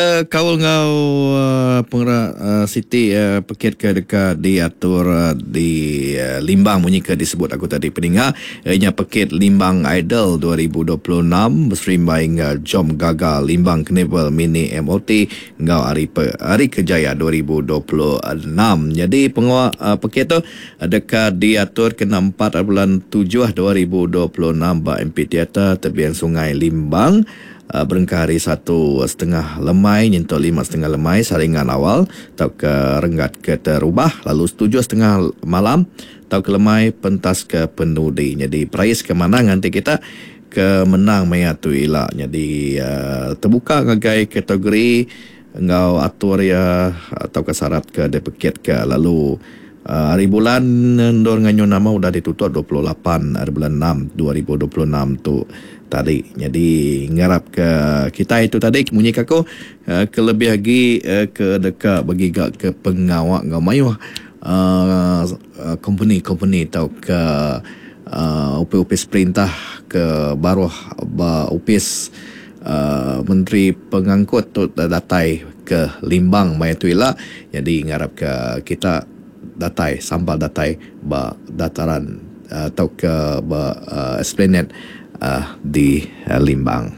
Kaul enggau pengera siti pekit ke deka diatur di Limbang munyi ke disebut aku tadi peninga iya nya pekit Limbang Idol 2026 beserimbai enggau Jom Gaga Limbang Carnival Mini MOT enggau Hari Hari Kerjaya 2026. Nyadi pengawa pekit tu deka diatur kena empat bulan tujuh 2026 ba Amphitheatre Tebing Sungai Limbang. Berengkah ari satu setengah lemai nyentuk lima setengah lemai saringan awal tauka renggat ke terubah lalu setujuh setengah malam tauka lemai pentas ke penudi. Nyadi perais ke manah nganti kita ke menang maya tu ila. Nyadi tebuka ngagai kategori enggau atur iya tauka syarat ke dipekitka lalu hari bulan endur nganyun nama udah ditutup 28 hari bulan enam 2026 tu tadi. Nyadi ngarap ke kitai tu tadi munyi ke aku ke lebih agi ke deka begiga ke pengawa enggau mayuh uhh kompeni-kompeni tauka uhh opis-opis perintah ke baruh ba opis uhh menteri pengangkut tu datai ke Limbang maya tu ila. Nyadi ngarap ke kita datai sampal datai ba dataran tauka ba esplanade di Limbang.